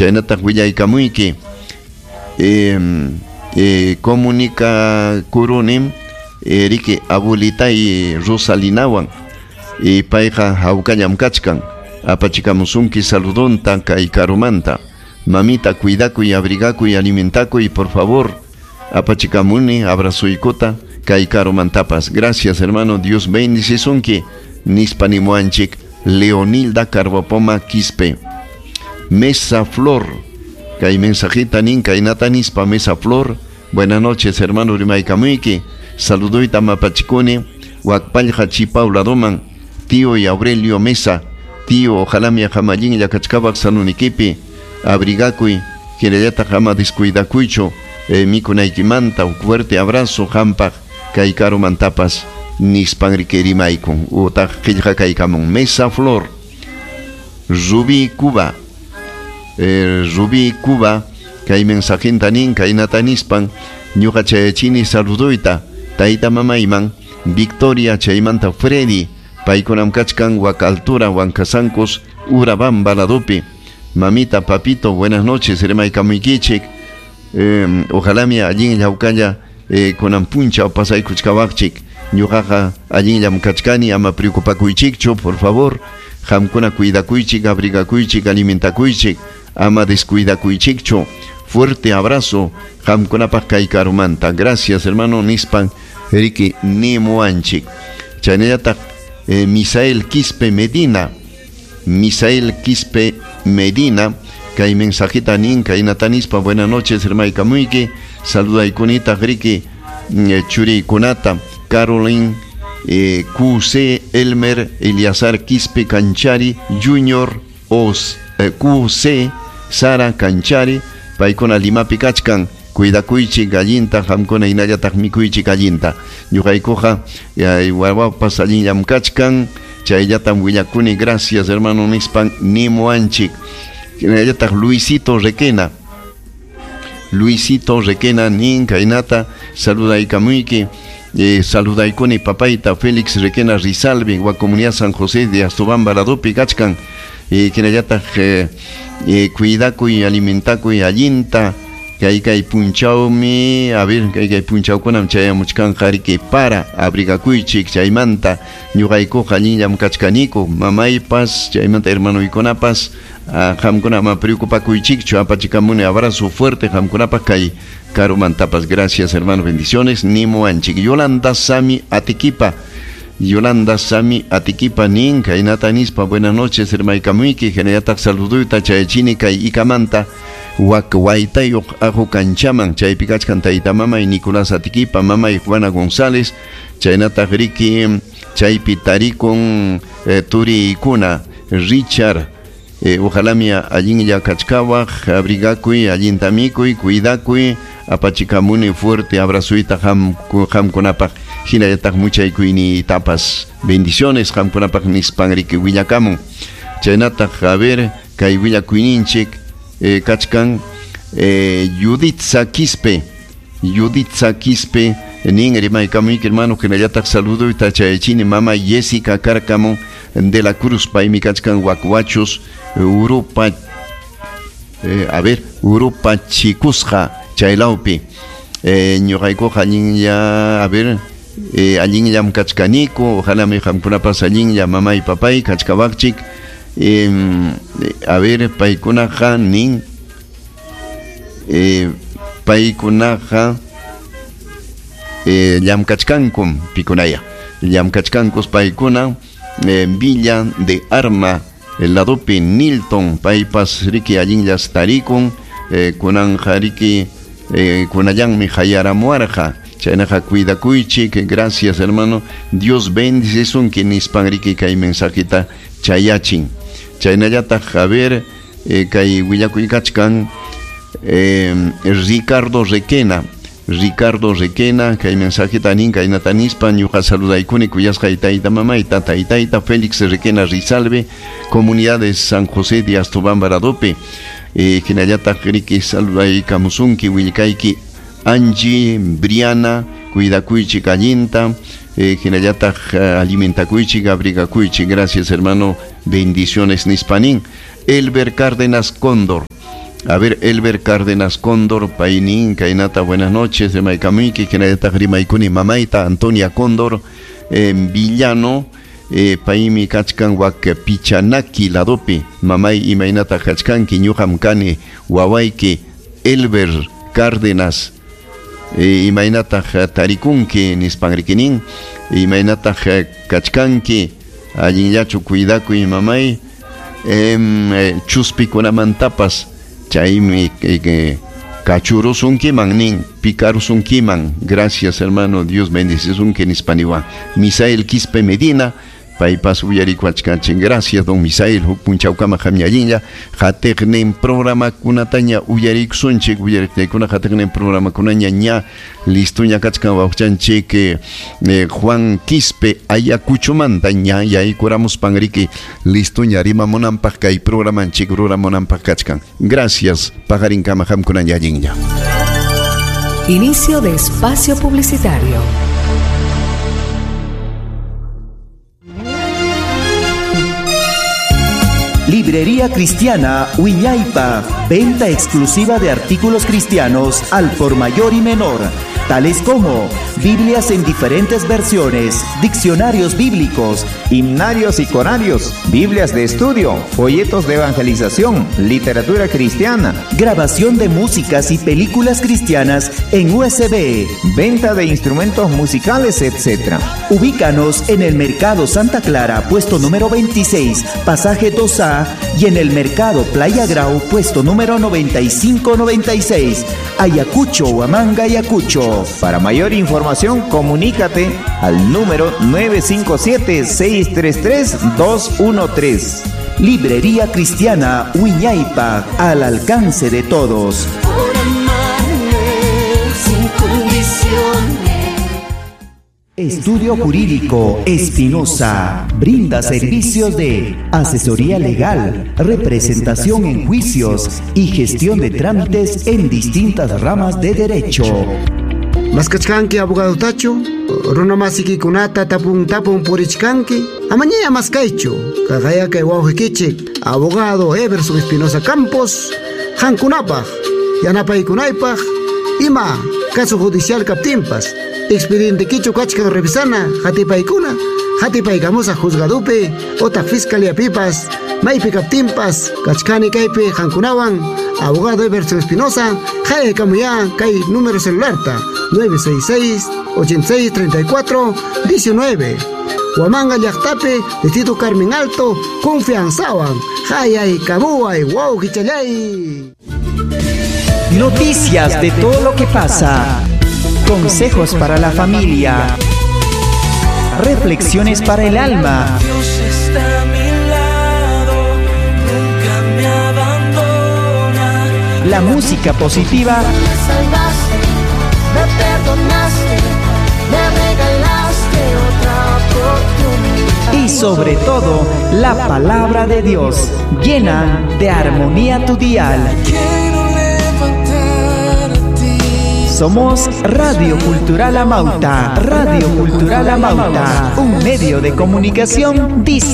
Chaynataq willaykamuyki comunicakurunim riki abuelitay Rosalinawan payqa hawkallam kachkan apachikamusunki saludonta kay karumanta. Mamita, cuidakuy, abrigakuy, alimentakuy, por favor. Apachikamuni abrazoykota kay karumantapas. Gracias, hermano. Dios bendicisunki. Nispa nimuanchik Leonilda Carbopoma Quispe. Mesa Flor. Kay mensajita nin kaynata nispa Mesa Flor. Buenas noches, hermano rimaykamuyki. Saluduyta mapachikuni. Wakpallqa Chipau ladoman. Tío y Aurelio Mesa. Tío, ojalá mi ajamallinlla kachkawaq salunikipi. Abrigakuy, hinallataq ama descuidakuychu mikunaykimanta. Un fuerte abrazo hampaq kay karumantapas nispan riki rimaykun utaq qillqakaykamun. Mesa Flor. Rubí Cuba. Rubí Cuba kay mensajinta nin kaynata nispan ñuqa chayachini saluduyta tayta mamayman Victoria chaymanta Freddy paykunam kachkan wak altura Huancasancos Urabamba ladopi. Mamita, papito, buenas noches, rimaykamuykichik. Ojalá mi allinlla hawkalla kunan punchaw pasaykuchkawaqchik. Ñuqaqa allinllam kachkani, ama preocupakuychikchu, por favor. Qamkuna cuidakuychik, abrigakuychik, alimentakuychik, ama descuidakuychikchu. Fuerte abrazo qamkunapaq kay karumanta. Gracias, hermano, nispan riki nimuanchik. Chaynallataq Misael Quispe Medina. Misael Quispe Medina kay mensajita nin kaynata nispa. Buenas noches, hermaykamuyki. Saludaykunitaq riki churiykunata Caroline QC Elmer Eliazar Quispe Canchari Junior Os QC Sara Canchari paykuna Limapi kachkan. Cuidakuychik allinta, qamkuna hinallataq mikuychik allinta. Ñuqaykuqa wawapas allinllam kachkan. Chayllatam willakuni. Gracias, hermano, nispan nimuanchik. Hinallataq Luisito Requena. Luisito Requena nin kaynata saludaykamuyki. Saludaykuni papayta Félix Requena Rizalbi wa comunidad San José de Astobamba ladopi kachkan. Hinallataq cuidakuy, alimentakuy allinta. Kay kay punchawmi, a ver, kay kay punchawkunam chayamuchkanqa riki para abrigakuychik chaymanta ñuqaykuqa allinllam kachkaniku mamaypas chaymanta hermanoykunapas qamkuna ama preocupakuychikchu apachikamuni abrazo fuerte qamkunapaq kay karumantapas. Gracias, hermano, bendiciones nimuanchik. Yolanda Sami Atiquipa. Yolanda Sami Atiquipa nin kaynata nispa. Buenas noches, hermaykamuyki. Hinallataq saluduyta chayachini kay ikamanta wak waytayuq ajo kanchaman chaypi kachkan tayta mamay Nicolás Atiquipa, mamay Juana González, chaynataq riki chaypi tarikun turiykuna Richard. Ojalá mi allinlla kachkawaq, abrigakuy, allinta mikuy, cuidakuy, apachikamuni fuerte abrazoyta qamkunapaq hinallataq muchaykuyniytapas. Bendiciones qamkunapaq nispan riki willakamun. Chaynataq a ver kay willakuyninchik kachkan Yuditza Quispe. Yuditza Quispe nin rimaykamuyki, hermano, hinallataq saluduyta chayachini mama Jessica Cárcamo de la Cruz paymi kachkan Huacuachos Urupa a ver Urupa Chikusqa chaylawpi. Ñuqaykuqa allinlla, a ver, allinllam kachkaniku, ojalá mi qamkunapas allinlla mamay papay kachkawaqchik. A ver, paykunaqa nin paykunaqa llamkachkankum pikunaya llamkachkankus paykuna Villa de Arma ladopi Nilton paypas riki allinllas tarikun kunanja riki kunallanmi hayaramuarqa. Chaynaqa cuidakuychik. Gracias, hermano, Dios bendicisunki nispan riki kay mensajita chayachin. Chaynallataq a ver kay willakuy kachkan Ricardo Requena. Ricardo Requena kay mensajita nin kaynata nispa. Ñuqa saludaykuni kuyasqay tayta mamayta taytayta Félix Requena Rizalbe comunidad de San José de Astobamba ladopi. Hinallataq riki saludaykamusunki willkayki Angie, Briana, cuidakuychik allinta, hinallataq alimentakuychik, abrigakuychik. Gracias, hermano, bendiciones nispanin. Elber Cárdenas Cóndor. A ver, Elber Cárdenas Cóndor, paynin, kaynata, buenas noches, rimaykamuyki, hinallataq rimaykuni mamayta, Antonia Cóndor, Villano, paymi kachkan wak Pichanaki ladopi, mamay imaynata kachkanki, ñuqam kani, wawayki, Elber Cárdenas, imaynataq tarikunki, nispanrikinin, imaynataq kachkanki, allinllachu cuidakuy mamay, chuspikunamantapas, chaymi kachurusunkiman nin, picarusunkiman. Gracias, hermano, Dios bendecisunki nispaniwan. Misael Quispe Medina, paypas uyarikuachkanchin. Gracias, don Misael, huk punchawkama qamñallinlla hatiqnin programakunataña uyarikusunchik, uyariqtaykuna hatiqnin programakunaña ña listuña kachkan wawchanchik Juan Quispe Ayacuchomanta ña yaykuramuspanriki listuña rimamunanpaq kay programanchik ruramunanpaq kachkan. Gracias, paqarinkama qamkunaña allinlla. Inicio de espacio publicitario. Librería Cristiana Wiñaypa, venta exclusiva de artículos cristianos al por mayor y menor, tales como Biblias en diferentes versiones, diccionarios bíblicos, himnarios y corarios, Biblias de estudio, folletos de evangelización, literatura cristiana, grabación de músicas y películas cristianas en USB, venta de instrumentos musicales, etc. Ubícanos en el Mercado Santa Clara, puesto número 26, pasaje 2A, y en el Mercado Playa Grau, puesto número 9596, Ayacucho, Huamanga, Ayacucho. Para mayor información, comunícate al número 957-633-213. Librería Cristiana Wiñaypa, al alcance de todos. Por amarme sin condiciones. Estudio Jurídico Espinosa brinda servicios de asesoría legal, representación en juicios y gestión de trámites en distintas ramas de derecho. Maskachkanki abogado tacho, runamasikikunata tapun tapun purichkanki, amañaya maskaychu, kaqayakay wawqikichik, abogado Everson Espinosa Campos, hankunapaq, yanapaykunaypaq, ima caso judicial kaptinpas, expediente kichu kachkan revisana, hatipaykuna, hatipaykamusa juzgadupi, otaq fiscalía pipas, maypi kaptinpas, kachkani kaypi hankunawan, abogado Everson Espinosa, hayakamuya kay número celularta, 966-8634-19. Huamanga llaqtapi, Distrito Carmen Alto, confianzawan, hayay kamuay, wow kichalay. Noticias de todo lo que pasa. Consejos para la familia. Reflexiones para el alma. Dios está a mi lado, nunca me abandona. La música positiva. Me salvaste, me perdonaste, me regalaste otra oportunidad. Y sobre todo, la palabra de Dios llena de armonía tu dial. Quiero levantar a ti. Somos Radio Cultural Amauta, Radio Cultural Amauta, un medio de comunicación distinto.